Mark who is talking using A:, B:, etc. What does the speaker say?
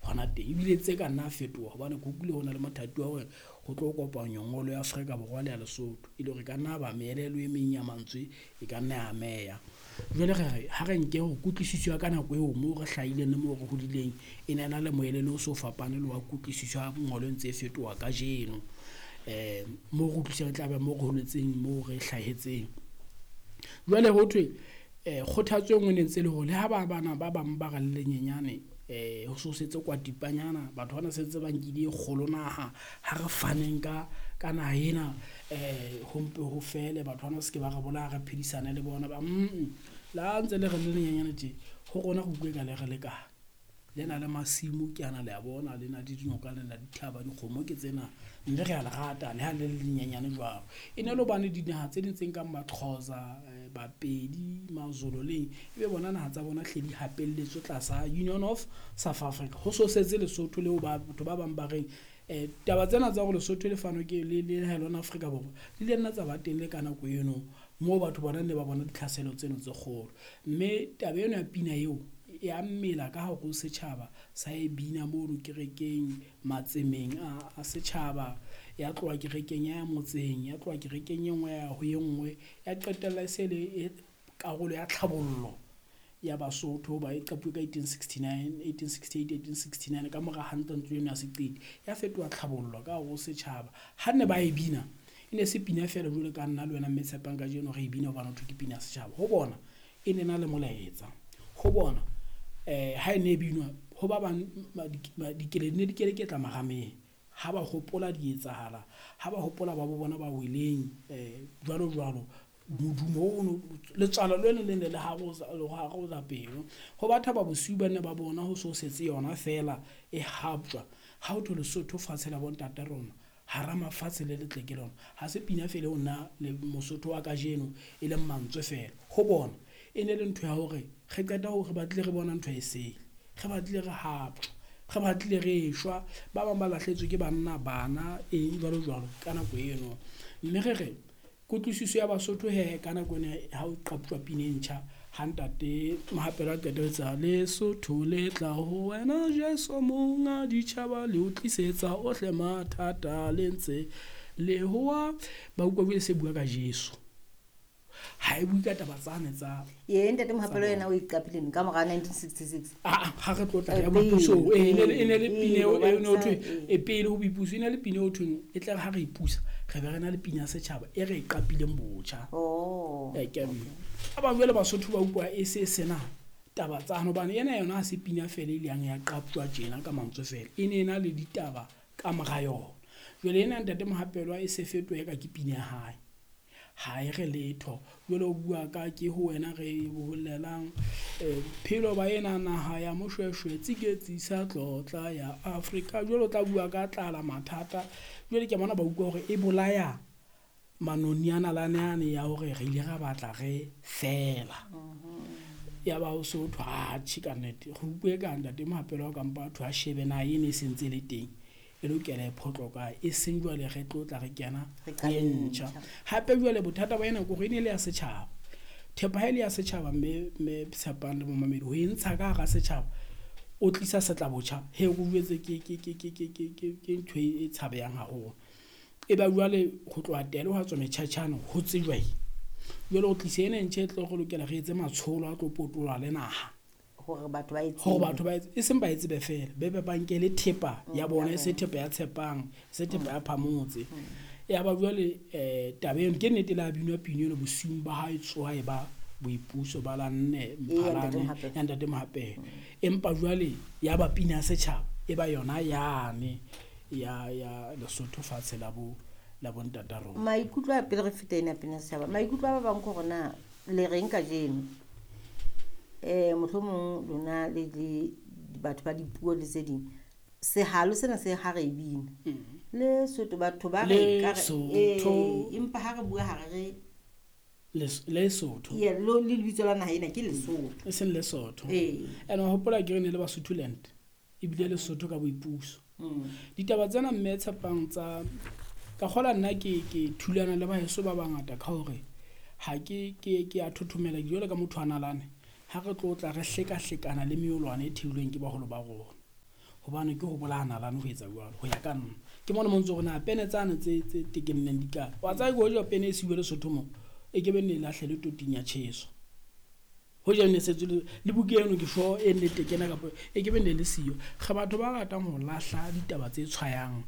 A: hona teng. Ebile tse ka nna fetoha hobane ke utlwile ho na le mothati wa hore ho tlo kopanywa ngolo ya Afrika Borwa le ya Lesotho, e le hore e ka nna ba meelelo e meng ya mantswe e ka nna ya ameha. Jwale re re ha re nke hore kutlwisiso ya ka nako eo moo re hlahileng le moo re hodileng e ne na le moelelo o so fapane le wa kutlwisiso ya ngolo e ntse e fetoha kajeno. Moo re utlwisisa e tla be moo re holetseng, moo re hlahetseng. Jwale ho thwe kgothatso e nngwe ne ntse le hore le ha ba bana ba bang ba re le lenyenyane ho so setse kwatipanyana, batho bana se ntse ba nkile e kgolo naha, ha re faneng ka naha ena ho mpe ho fele, batho bana ba se ke ba re bolaya, re phedisane le bona ba le ha ntse le re le lenyenyane tje, ho rona re utlwe eka le re lekane. Le na le masimo ke ana le a bona, le na le dinoka, le na le dithaba, dikgomo ke tsena, mme re a le rata le ha le le lenyenyane jwalo. E ne le hobane dinaha tse ding tse nkang Maxhosa, Bapedi, Mazulu leng, ebe bona naha tsa bona hle di hapelletswe tlasa Union of South Africa. Ho so setse Lesotho leo batho ba bang ba reng taba tsena tsa hore Lesotho le fanwe ke le le Afrika Borwa di ile nna tsa ba teng le ka nako eno moo batho bona ne ba bona ditlhaselo tseno tse kgolo. Mme taba eno ya pina eo ya mmela ka hare ho setjhaba, sa e bina mono kerekeng, matsemeng a setjhaba, ya tloha kerekeng ya ya motseng, ya tloha kerekeng e nngwe ya ho e nngwe, ya qetella e se le karolo ya tlhabollo ya Basotho hoba e qapuwe ka 1869, 1868, 1869 ka mora hantle ntlo eno ya seqiti, ya fetoha tlhabollo ka hare ho setjhaba. Ha ne ba e bina, e ne se pina feela jwalo ka nna le wena mme Tshepang kajeno re e bina hobane ho thwe ke pina ya setjhaba. Ho bona e ne na le molaetsa, ho bona ha e ne e binwa ho ba bang dikeledi ne di keleketla marameng ha ba hopola di etsahala, ha ba hopola ba bo bona ba weleng jwalo jwalo, modumo ono letswalo le le ne le harola pelo. Ho batho ba bosiu ba ne ba bona ho so setse yona feela e haptjwa, ha ho thwe Lesotho fatshe la bontata rona, hara mafatshe le letle ke lona. Ha se pina feela eo nna le Mosotho wa kajeno e leng mantswe feela. Ho bona e ne le ntho ya hore re qeta hore re batlile re bona ntho e sele, re batlile re haptjwa, re batlile re shwa, ba bang ba lahletswe ke banna, bana, eng jwalo jwalo ka nako eno. Mme re re kutlwisiso ya Basotho he ka nako ena ha o qaptjwa pina e ntjha, ha ntate Mohapelo a qeta ho etsa Lesotho le tla ho wena Jesu monga ditjhaba le o tlisetsa ohle mathata le ntse le hoa, ba utlwa jwale se bua ka Jesu. Ha e bue ka taba tsane tsa
B: Ye ntate Mohapelo yena o iqapile neng ka mora 1966?
A: Ha re tlotla ya boipuso, e ne le pina eo e ne ho thwe e pele ho boipuso, e ne le pina eo thweng e tle ha re ipusa re be re na le pina ya setjhaba e re e qapileng botjha. Ke ba bang jwale Basotho ba utlwa e se sena taba tsane hobane ena yona ha se pina feela e ileng ya qaptjwa tjena ka mantswe feela, e ne na le ditaba ka mora yona. Jwale ena ntate Mohapelo e se fetohe ka ke pina ya hae, ha e re letho. Jwale o bua ka ke ho wena re bolelang phelo ba ena naha ya Moshweshwe tsiketsi sa tlotla ya Afrika. Jwale o tla bua ka tlala mathata. Jwale ke bona ba utlwa hore e bolaya manonyana lane ane ya hore re ile ra batla re fela. Ya ba ho so thwe atjhe ka nnete re utlwe ka ntate Mohapelo wa kampa batho a shebe naha ene e sentse le teng, e lokela e phoqo kae, e seng jwale re tlotla re kena e ntjha. Hape jwale bothata ba ena ke hore e ne le ya setjhaba, thepa ha e le ya setjhaba mme Tshepang le momamedi ho e ntsha ka hara setjhaba o tlisa setla botjha, he o jwetse ke ntho e tshabehang haholo. E ba jwale ho tloha tele ho tswa metjhatjhano ho tsejwa eng. Jwale o tlise ena e ntjha e tlo re lokela re etse matsholo a tlo potoloha le naha
B: hore batho ba e tsebe,
A: hore batho ba e seng ba e tsebe feela, be be ba nke le thepa ya bona, e se thepa ya Tshepang, se thepa ya Phamotse. Ya ba jwale taba eno ke nnete le a binwa pina eno bosiung ba ha e tsoha e ba boipuso ba la nne Mphalane ya ntate Mohapelo. Empa jwale ya ba pina ya setjhaba e ba yona yane ya Lesotho fatshe la bo la bontata rona.
B: Maikutlo a pele re feta ena pina ya setjhaba, maikutlo a ba bang ke hore na le reng kajeno? Mohlomong lona le batho ba dipuo le tse ding, sehalo sena se ha re bina Lesotho batho ba re ka empa ha re bua ha re
A: Lesotho
B: ye lo le lebitso la naha ena ke Lesotho,
A: e seng Lesotho. Ene hopola ke re ne le Basotholand ebile Lesotho ka boipuso. Ditaba tsena mme Tshepang tsa ka kgola nna ke thulana le baheso ba bangata ka hore ha ke a thothomela jwalo ka motho a nalane. Ha re tlotla re hlekahlekana le meolwane e theilweng ke baholo ba rona. Hobane ke ho bolaya nalane ho etsa jwalo, ho ya ka nna. Ke mona mo ntso hore na pene tsane tse tekenneng di kae. Wa tseba ke hoja pene e siuwe Lesotho mo, e ke be nne e lahlelwe toting ya tjheso. Hoja ne setse le buka eno ke sure e nne tekena kapa e ke be ne le siyo. Re batho ba ratang ho lahla ditaba tse tshwayang.